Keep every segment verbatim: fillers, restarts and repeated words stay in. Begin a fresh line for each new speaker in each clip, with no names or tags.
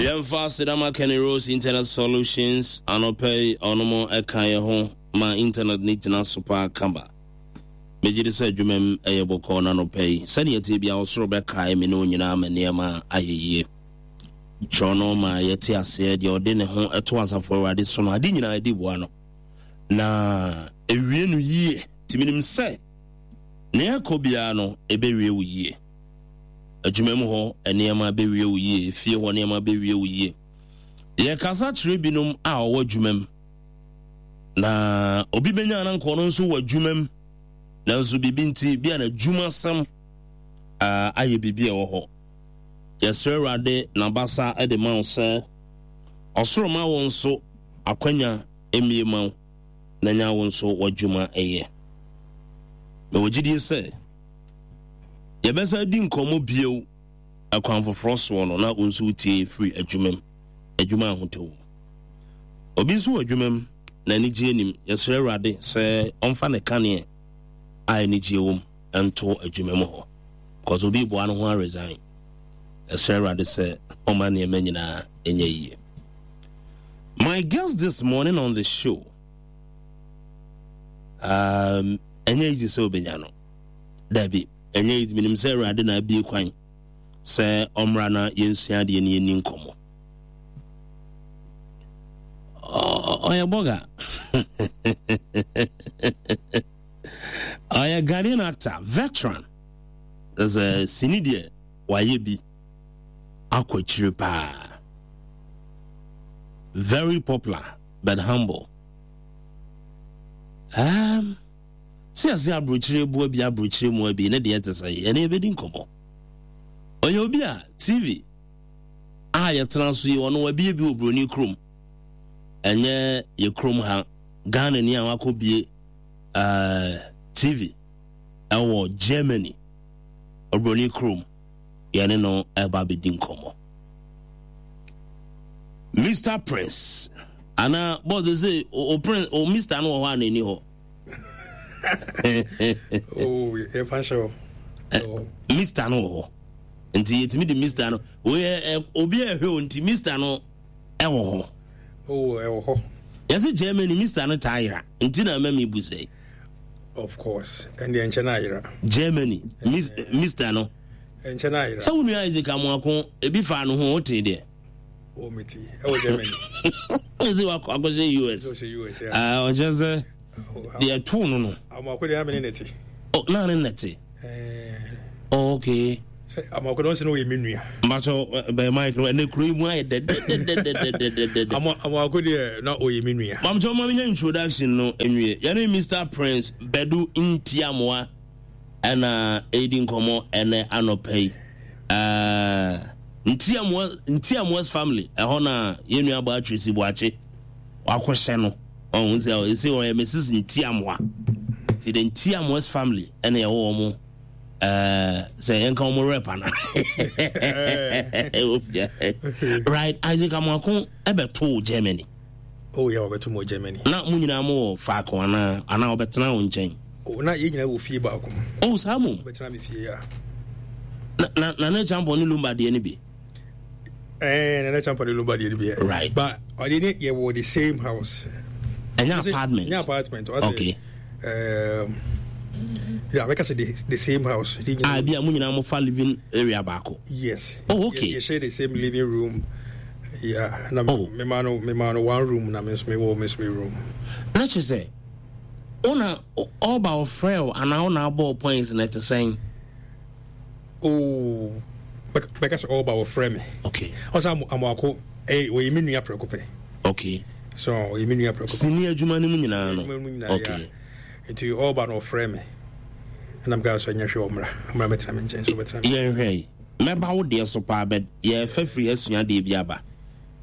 Yɛmfa aseda ma Kenny Rose Internet Solutions. Anɔpa yi, ɔnom ɛka yɛ ho ma internet ne gyina so paa kama. Megye di sɛ adwuma mu ɛyɛ bɔkɔɔ na anɔpa yi, sɛdeɛ ɛteɛ bia, ɔsoro bɛkae me ne wo nyinaa ma nneɛma ayɛ yie. Kyerɛ no ma yɛte aseɛ, deɛ ɔde ne ho ɛto Asafo Awurade so no, ade nyinaa ɛdi boa no na ewie no yie. Nti menim sɛ nea ɛkɔ biara no, ɛbɛwie wo yie. Adwuma mu hɔ nneɛma bɛwie wo yie, fie hɔ nneɛma bɛwie wo yie. Yɛkasa kyerɛ binom a ɔwɔ adwuma mu, na obi bɛnya na nkɔɔ no nso wɔ adwuma mu, nanso biribi nti bi a n'adwumasɛm ayɛ biribi a ɛwɔ hɔ. Yɛsrɛ Awurade n'abasa de ma wo sɛ ɔsoro ma wo nso akwanya mmie ma wo na nya wo nso w'adwuma ɛyɛ. Mewɔ gyidie sɛ yɛbɛsa di nkɔmmɔ bio ɛkwan foforɔ soɔ no, na wo nso wotie firi adwuma mu, adwuma ahotɔ mu. Obi nso wɔ adwuma mu na anigye anim. Yɛsrɛ Awurade sɛ ɔmfa ne kaneɛ a anigye wɔ mu nto adwuma mu hɔ, because obi boa no ho a resign. Yɛsrɛ Awurade sɛ ɔma nneɛma nyinaa ɛnyɛ yie. My guest this morning on the show, um, ɛnyɛ easy sɛ obɛnya no. Dabi, ɛnyɛ easy. Menim sɛ Awurade na abie kwan sɛ ɔmmra na yɛnsua adeɛ ne yɛnni nkɔmmɔ. Ɔyɛ bɔga, ɔyɛ Ghanaian actor veteran. Sɛ sini deɛ, wayɛ bi akɔ akyire paa. Very popular but humble. um, sɛ yɛsɛ aburokyire boa bi, aburokyire mu bi ne deɛ te sɛ ɛne yɛbɛdi nkɔmmɔ. Ɔyɛ obi a T V a yɛtena so yi, ɔno wabie bi wɔ buroni kurom. Ɛnyɛ yɛ kurom ha, Ghana ni a wakɔ bie uh, T V ɛwɔ Germany, oburoni kurom. Yɛne no ɛba bɛdi nkɔmmɔ. Mister Prince anaa boss sɛ o Prince o Mister no wɔ hɔ a n'ani hɔ.
Oh, yɛfa nhyɛ hɔ.
Mister no wɔ hɔ, nti yɛtumi de Mister no oyɛ obi a ɛhwɛ o, nti Mister no ɛwɔ hɔ.
Oh, ɛwɔ hɔ.
Yɛsɛ Germany Mister no taa yera, nti na ɛma mi bu sɛ.
Of course, ɛndeɛ nkyɛn na ayera.
Germany Mister no.
Nkyɛn na ayera.
Sɛ wo nua Isaac Amoako ebi fa no ho, wote deɛ.
O mi ti ɛwɔ Germany.
Ɛsɛ wakɔ akɔhyɛ U S.
Ɔhyɛ U S, yeah.
Ɔkyerɛ sɛ deɛ too no no.
Amoako deɛ, na mi ne ne te.
Oh, na ne ne te. Oh, okay.
Sɛ Amoako deɛ, ɔnsi na ɔyɛ mi nua.
Mbakyɛ bɛn mic no, ɛnɛ kuro yi mu ayɛ dɛdɛdɛdɛdɛdɛdɛ.
Amoako deɛ, na ɔyɛ mi nua.
Mamkyɛ ɔma mi nya introduction no nwie. Yɛne Mister Prince Badu Ntiamoa ɛna ɛredi nkɔmɔ ɛnɛ anɔpa yi. Ɛɛ Ntiamoa Ntiamoa's family ɛhɔ na yɛn nua abɔ Atwesi Buakye wakɔhyɛ no. Ɔhun sɛ ɛsɛ ɔyɛ Missus Ntiamoa, ti the Ntiamoa's family ɛna ɛwɔ wɔn ɛɛ sɛ yɛn ka wɔn rep ana, right? Isaac Amoako ɛbɛto Germany.
Oh yeah, ɔbɛto mu Germany.
Na mo nyinaa mo wɔ faako anaa anaa ɔbɛtena wo nkyɛn?
Oh, na yɛn nyinaa wɔ fie baako mu.
Oh, saa mo.
Ɔbɛtena mi fie ya.
Na na na ne Champon ne Lumba deɛ no bi.
Ɛɛ, Nana Champon ne Lumba deɛ no bi.
Right.
But ɔde ne yɛ wɔ the same house.
Ɛnyɛ apartment?
Ɛnyɛ apartment.
Okay.
Um, yeah, bɛka sɛ the, the same house.
Ah, bi a mo nyinaa mo fa living area baako.
Yes.
Oh, okay.
Yɛ share the same living room. Yeah, na oh. me ma no me ma no one room, na me nso me wɔ me nso me room.
Na kyerɛ sɛ wona ɔba ɔfrɛ wo anaa wona abɔ points na ɛte sɛn?
Oh, bɛka sɛ ɔba ɔfrɛ me.
Okay.
Ɔsɛ Amoako ɛyɛ ɔyɛ me nua prɛko pɛ.
Okay.
So ɔyɛ me nua prɛko pɛ.
Sini adwuma no mu nyinaa no. Okay.
Nti ɔba no ɔfrɛ me. Ɛna meka sɛ nyɛ hwɛ, ɔmmra ɔmmra mɛtena me nkyɛn sɛ ɔbɛtena
me. Yɛnhwɛ yi, mɛba wo deɛ so paa, bɛ yɛfa firi asua deɛ bi aba.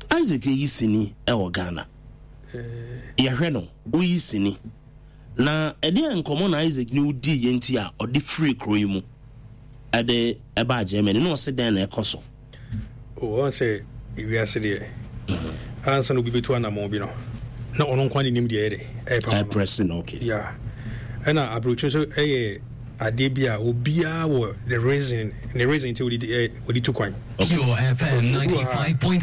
Isaac yi sini ɛwɔ Ghana. Yɛhwɛ no, woyi sini. Na ɛdeɛ nkɔmmɔ na Isaac ne wodii yɛ nti a ɔde firi kuro yi mu ɛde ɛbaa Germany na ɔse dɛn na ɛkɔ so?
Ɔn sɛ ewiase deɛ, ansa na obi bɛtu anammɔn bi no, na ɔno nkwa ne nim deɛ ɛyɛ de ɛyɛ pama no.
Ɛprɛse no, okay.
Yeah, ɛna aburokyire nso ɛyɛ adeɛ bi a obiara wɔ the reason, ne reason nti ɔde ɔde tu kwan.
Pure F M ninety-five point